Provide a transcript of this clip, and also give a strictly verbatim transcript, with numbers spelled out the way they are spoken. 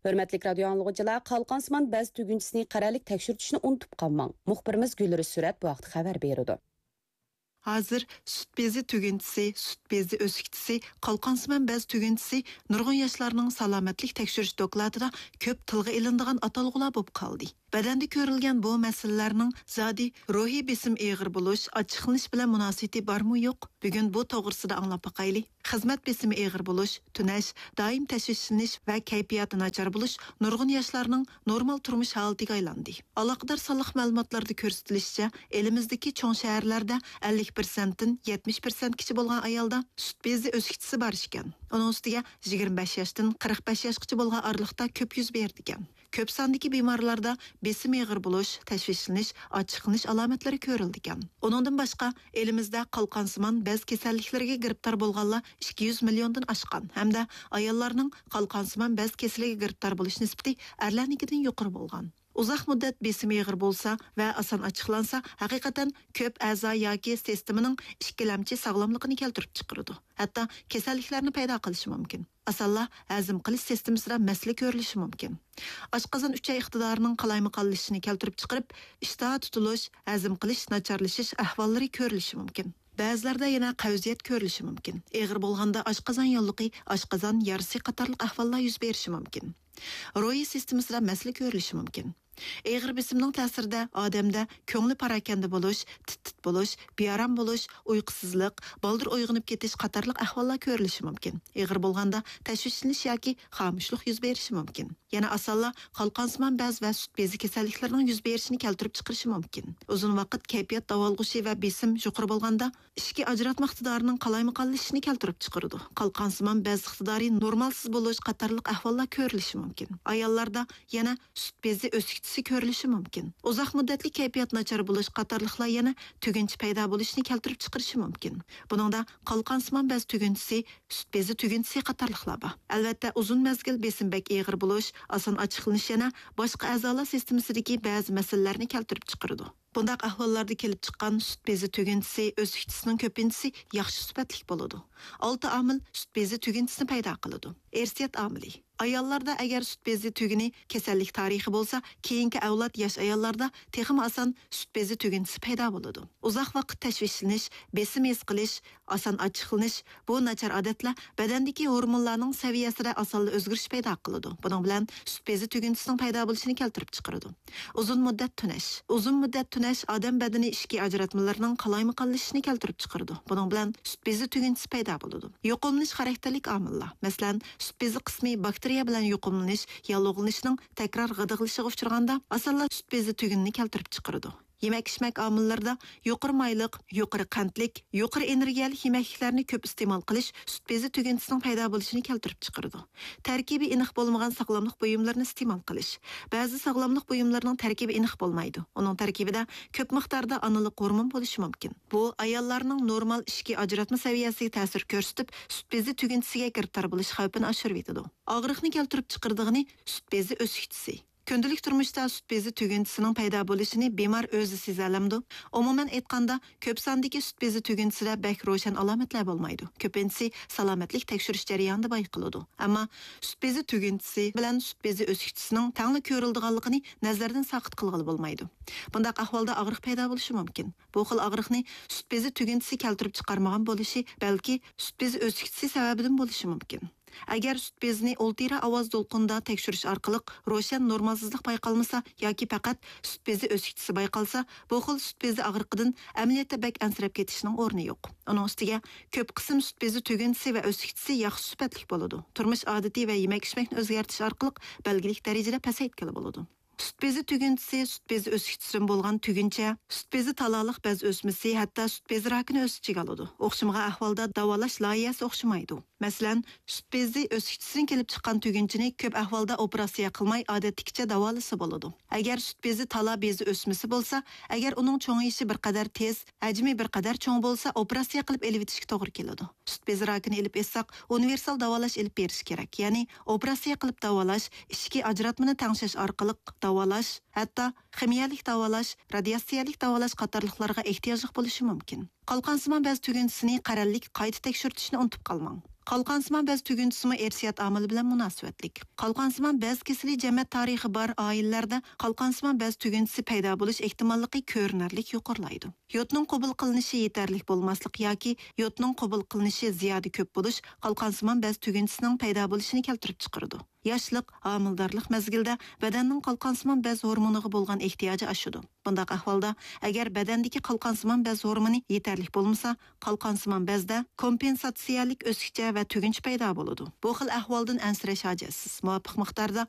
ھۆرمەتلىك رادىيو ئاڭلىغۇچىلار، قالقانسىمان بەز تۈگۈنچىسىنى قەرەللىك تەكشۈرتۈشنى ئۇنتۇپ قالماڭ. مۇخبىرىمىز گۈلرۈز سۈرەت بۇ ھەقتە خەۋەر بېرىدۇ. ھازىر سۈت بېزى تۈگۈنچىسى، سۈت بېزى ئۆسۈكچىسى، قالقانسىمان بەز تۈگۈنچىسى نۇرغۇن ياشلارنىڭ سالامەتلىك تەكشۈرۈش دوكلاتىدا كۆپ تىلغا ئېلىنىدىغان ئاتالغۇلار بولۇپ قالدى. بەدەندە كۆرۈلگەن بۇ مەسىلىلەرنىڭ زادى روھىي بېسىم ئېغىر بولۇش، ئاچچىقلىنىش بىلەن مۇناسىۋىتى بارمۇ يوق؟ بۈگۈن بۇ توغرىسىدا ئاڭلاپ باقايلى. خىزمەت بېسىمى ئېغىر بولۇش، تۈنەش، دائىم تەشۋىشلىنىش ۋە كەيپىياتى ناچار بولۇش نۇرغۇن ياشلارنىڭ نورمال تۇرمۇش ھالىتىگە ئايلاندى. ئالاقىدار سانلىق مەلۇماتلاردا كۆرسىتىلىشىچە، ئېلىمىزدىكى چوڭ شەھەرلەردە ئەللىك پىرسەنتتىن يەتمىش پىرسەنتكىچە بولغان ئايالدا سۈت بېزى ئۆسۈكچىسى بار ئىكەن. ئۇنىڭ ئۈستىگە يىگىرمە بەش ياشتىن قىرىق بەش ياشقىچە بولغان ئارىلىقتا كۆپ يۈز بېرىدىكەن. كۆپ ساندىكى بىمارلاردا بېسىم ئېغىر بولۇش، تەشۋىشلىنىش، ئاچچىقلىنىش ئالامەتلىرى كۆرۈلىدىكەن. ئۇنىڭدىن باشقا، ئېلىمىزدە قالقانسىمان بەز كېسەللىكلىرىگە گىرىپتار بولغانلار ئىككى يۈز مىليوندىن ئاشقان ھەمدە ئاياللارنىڭ قالقانسىمان بەز كېسىلىگە گىرىپتار بولۇش نىسبىتى ئەرلەرنىڭكىدىن يۇقىرى بولغان. ئۇزاق مۇددەت بېسىمى ئېغىر بولسا ۋە ئاسان ئاچچىقلانسا، ھەقىقەتەن كۆپ ئەزا ياكى سىستېمىنىڭ ئىككىلەمچى ساغلاملىقىنى كەلتۈرۈپ چىقىرىدۇ. ھەتتا كېسەللىكلەرنى پەيدا قىلىشى مۇمكىن. ئاسانلا ھەزىم قىلىش سىستېمىسىدا مەسىلە كۆرۈلۈشى مۇمكىن. ئاشقازان ئۈچەي ئىقتىدارىنىڭ قالايمىقانلىشىشىنى كەلتۈرۈپ چىقىرىپ، ئىشتىھا تۇتۇلۇش، ھەزىم قىلىش ناچارلىشىش ئەھۋاللىرى كۆرۈلۈشى مۇمكىن. بەزىلەردە يەنە قەۋزىيەت كۆرۈلۈشى مۇمكىن. ئېغىر بولغاندا ئاشقازان يوللۇقى، ئاشقازان يارىسى قاتارلىق ئەھۋاللار يۈز بېرىشى مۇمكىن. روھىي سىستېمىسىدا مەسىلە كۆرۈلۈشى مۇمكىن. ئېغىر بېسىمنىڭ تەسىرىدە ئادەمدە كۆڭلى پاراكەندە بولۇش، تىت-تىت بولۇش، بىئارام بولۇش، ئۇيقۇسىزلىق، بالدۇر ئويغىنىپ كېتىش قاتارلىق ئەھۋاللار كۆرۈلۈشى مۇمكىن. ئېغىر بولغاندا تەشۋىشلىنىش ياكى خامۇشلۇق يۈز بېرىشى مۇمكىن. يەنە ئاسانلا قالقانسىمان بەز ۋە سۈت بېزى كېسەللىكلىرىنىڭ يۈز بېرىشىنى كەلتۈرۈپ چىقىرىشى مۇمكىن. ئۇزۇن ۋاقىت كەيپىيات داۋالغۇشى ۋە بېسىم يۇقىرى بولغاندا، ئىچكى ئاجراتما ئىقتىدارىنىڭ قالايمىقانلىشىشىنى كەلتۈرۈپ چىقىرىدۇ. قالقانسىمان بەز ئىقتىدارى نورمالسىز بولۇش قاتارلىق ئەھۋاللار كۆرۈلۈشى مۇمكىن. ئاياللاردا يەنە سۈت بېزى ئۆسۈكچىسى كۆرۈلۈشى مۇمكىن. ئۇزاق مۇددەتلىك كەيپىيات ناچار بولۇش قاتارلىقلار يەنە تۈگۈنچە پەيدا بولۇشنى كەلتۈرۈپ چىقىرىشى مۇمكىن. بۇنىڭدا قالقانسىمان بەز تۈگۈنچىسى، سۈت بېزى تۈگۈنچىسى قاتارلىقلار بار. ئەلۋەتتە، ئۇزۇن مەزگىل بېسىم بەك ئېغىر بولۇش، ئاسان ئاچچىقلىنىش يەنە باشقا ئەزالار سىستېمىسىدىكى بەزى مەسىلىلەرنى كەلتۈرۈپ چىقىرىدۇ. بۇنداق ئەھۋاللاردا كېلىپ چىققان سۈت بېزى تۈگۈنچىسى، ئۆسۈكچىسىنىڭ كۆپىنچىسى ياخشى سۈپەتلىك بولىدۇ. ئالتە ئامىل سۈت بېزى تۈگۈنچىسىنى پەيدا قىلىدۇ. ئىرسىيەت ئامىلى. ئاياللاردا ئەگەر سۈت بېزى تۈگۈنى كېسەللىك تارىخى بولسا، كېيىنكى ئەۋلاد ياش ئاياللاردا تېخىمۇ ئاسان سۈت بېزى تۈگۈنچىسى پەيدا بولىدۇ. ئۇزاق ۋاقىت تەشۋىشلىنىش، بېسىم ھېس قىلىش، ئاسان ئاچچىقلىنىش، بۇ ناچار ئادەتلەر بەدەندىكى ھورمونلارنىڭ سەۋىيەسىدە ئاسانلا ئۆزگىرىش پەيدا قىلىدۇ. بۇنىڭ بىلەن سۈت بېزى تۈگۈنچىسىنىڭ پەيدا بولۇشىنى كەلتۈرۈپ چىقىرىدۇ. ئۇزۇن مۇددەت تۈنەش. ئۇزۇن مۇددەت تۈنەش ئادەم بەدىنى ئىچكى ئاجراتمىلىرىنىڭ قالايمىقانلىشىشىنى كەلتۈرۈپ چىقىرىدۇ. بۇنىڭ بىلەن سۈت بېزى تۈگۈنچىسى پەيدا بولىدۇ. يۇقۇملىنىش خاراكتېرلىك ئامىللار، مەسىلەن، سۈت بېزى قىسمى باكتېرىيە بىلەن يۇقۇملىنىش، ياللۇغلىنىشنىڭ تەكرار غىدىقلىشىغا ئۇچرىغاندا، ئاسانلا سۈت بېزى تۈگۈنىنى كەلتۈرۈپ چىقىرىدۇ. يېمەك-ئىچمەك ئامىللىرىدا يۇقىرى مايلىق، يۇقىرى قەنتلىك، يۇقىرى ئېنېرگىيەلىك يېمەكلىكلەرنى كۆپ ئىستېمال قىلىش سۈت بېزى تۈگۈنچىسىنىڭ پەيدا بولۇشىنى كەلتۈرۈپ چىقىرىدۇ. تەركىبى ئېنىق بولمىغان ساغلاملىق بۇيۇملىرىنى ئىستېمال قىلىش. بەزى ساغلاملىق بۇيۇملىرىنىڭ تەركىبى ئېنىق بولمايدۇ. ئۇنىڭ تەركىبىدە كۆپ مىقداردا ئانىلىق ھورمون بولۇشى مۇمكىن. بۇ ئاياللارنىڭ نورمال ئىچكى ئاجراتما سەۋىيەسىگە تەسىر كۆرسىتىپ، سۈت بېزى تۈگۈنچىسىگە گىرىپتار بولۇش خەۋپىنى ئاشۇرۇۋېتىدۇ. ئاغرىقنى كەلتۈرۈپ چىقىرىدىغىنى سۈت بېزى ئۆسۈكچىسى. كۈندىلىك تۇرمۇشتا سۈت بېزى تۈگۈنچىسىنىڭ پەيدا بولۇشىنى بىمار ئۆزى سېزەلەمدۇ؟ ئومۇمەن ئېيتقاندا، كۆپ ساندىكى سۈت بېزى تۈگۈنچىسىدە بەك روشەن ئالامەتلەر بولمايدۇ. كۆپىنچىسى سالامەتلىك تەكشۈرۈش جەريانىدا بايقىلىدۇ. ئەمما سۈت بېزى تۈگۈنچىسى بىلەن سۈت بېزى ئۆسۈكچىسىنىڭ تەڭلا كۆرۈلىدىغانلىقىنى نەزەردىن ساقىت قىلغىلى بولمايدۇ. بۇنداق ئەھۋالدا ئاغرىق پەيدا بولۇشى مۇمكىن. بۇ خىل ئاغرىقنى سۈت بېزى تۈگۈنچىسى كەلتۈرۈپ چىقارمىغان بولۇشى، بەلكى سۈت بېزى ئۆسۈكچىسى سەۋەبىدىن بولۇشى مۇمكىن. ئەگەر سۈت بېزىنى ئولتۇرا ئاۋاز دولقۇنىدا تەكشۈرۈش ئارقىلىق روشەن نورمالسىزلىق بايقالمىسا ياكى پەقەت سۈت بېزى ئۆسۈكچىسى بايقالسا، بۇ خىل سۈت بېزى ئاغرىقىدىن ئەمەلىيەتتە بەك ئەنسىرەپ كېتىشنىڭ ئورنى يوق. ئۇنىڭ ئۈستىگە كۆپ قىسىم سۈت بېزى تۈگۈنچىسى ۋە ئۆسۈكچىسى ياخشى سۈپەتلىك بولىدۇ. تۇرمۇش ئادىتى ۋە يېمەك-ئىچمەكنى ئۆزگەرتىش ئارقىلىق بەلگىلىك دەرىجىدە پەسەيتكىلى بولىدۇ. سۈت بېزى تۈگۈنچىسى، سۈت بېزى ئۆسۈكچىسىدىن بولغان تۈگۈنچە، سۈت بېزى تالالىق بەز ئۆسمىسى، ھەتتا سۈت بېزى راكىنى ئۆز ئىچىگە ئالىدۇ. ئوخشىمىغان ئەھۋالدا داۋالاش لايىھەسى ئوخشىمايدۇ. مەسىلەن، سۈت بېزى ئۆسۈكچىسىدىن كېلىپ چىققان تۈگۈنچىنى كۆپ ئەھۋالدا ئوپېراتسىيە قىلماي، ئادەتتىكىچە داۋالىسا بولىدۇ. ئەگەر سۈت بېزى تالا بېزى ئۆسمىسى بولسا، ئەگەر ئۇنىڭ چوڭىيىشى بىر قەدەر تېز، ھەجمى بىر قەدەر چوڭ بولسا، ئوپېراتسىيە قىلىپ ئېلىۋېتىشكە توغرا كېلىدۇ. سۈت بېزى راكىنى ئېلىپ ئېيتساق، ئۇنىۋېرسال داۋالاش ئېلىپ بېرىش كېرەك. يەنى ئوپېراتسىيە قىلىپ داۋالاش، ئىچكى ئاجراتمىنى تەڭشەش ئارقىلىق داۋالاش، ھەتتا خىمىيەلىك داۋالاش، رادىياتسىيەلىك داۋالاش قاتارلىقلارغا ئېھتىياجلىق بولۇشى مۇمكىن. قالقانسىمان بەز تۈگۈنچىسىنى قەرەللىك قايتا تەكشۈرتۈشنى ئۇنتۇپ قالماڭ. قالقانسىمان بەز تۈگۈنچىسىمۇ ئىرسىيەت ئامىلى بىلەن مۇناسىۋەتلىك. قالقانسىمان بەز كېسىلى جەمەت تارىخى بار ئائىلىلەردە قالقانسىمان بەز تۈگۈنچىسى پەيدا بولۇش ئېھتىماللىقى كۆرۈنەرلىك يۇقىرىلايدۇ. يودنىڭ قوبۇل قىلىنىشى يېتەرلىك بولماسلىق ياكى يودنىڭ قوبۇل قىلىنىشى زىيادە كۆپ بولۇش قالقانسىمان بەز تۈگۈنچىسىنىڭ پەيدا بولۇشىنى كەلتۈرۈپ چىقىرىدۇ. ياشلىق، ھامىلىدارلىق مەزگىلىدە بەدەننىڭ قالقانسىمان بەز ھورمونىغا بولغان ئېھتىياجى ئاشىدۇ. بۇنداق ئەھۋالدا، ئەگەر بەدەندىكى قالقانسىمان بەز ھورمونى يېتەرلىك بولمىسا، قالقانسىمان بەزدە كومپېنساتسىيەلىك ئۆسكۈچە ۋە تۈگۈنچە پەيدا بولىدۇ. بۇ خىل ئەھۋالدىن ئەنسىرەش ھاجەتسىز. مۇۋاپىق مىقداردا